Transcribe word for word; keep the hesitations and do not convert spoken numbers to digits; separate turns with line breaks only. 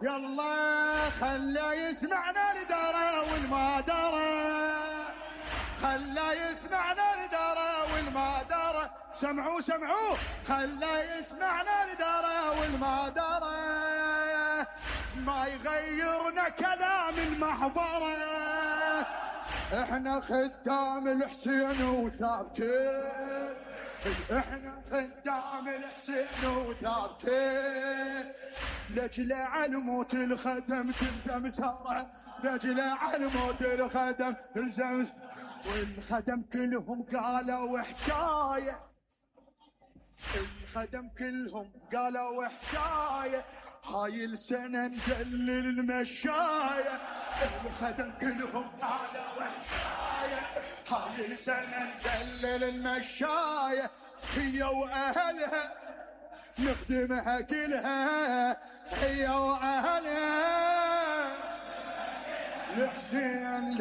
يلا خلى يسمعنا الدرى والما درى، خلى يسمعنا الدرى والما درى، سمعوا سمعوا خلى يسمعنا الدرى والما درى، ما يغيرنا كلام المحبرة، احنا خدام الحسين وثابتين، احنا خدام الحسين وثابتين، لجل على موت الخدم تلزم ساره، لجل على موت الخدم تلزم، والخدم كلهم قالوا حكايه، الخدم كلهم قالوا حكايه، هاي السنه ندلل المشايه، الخدم كلهم قالوا حكايه، هاي السنه ندلل المشايه، هي واهلها نخدمها كلها، هي واهلها الحسين.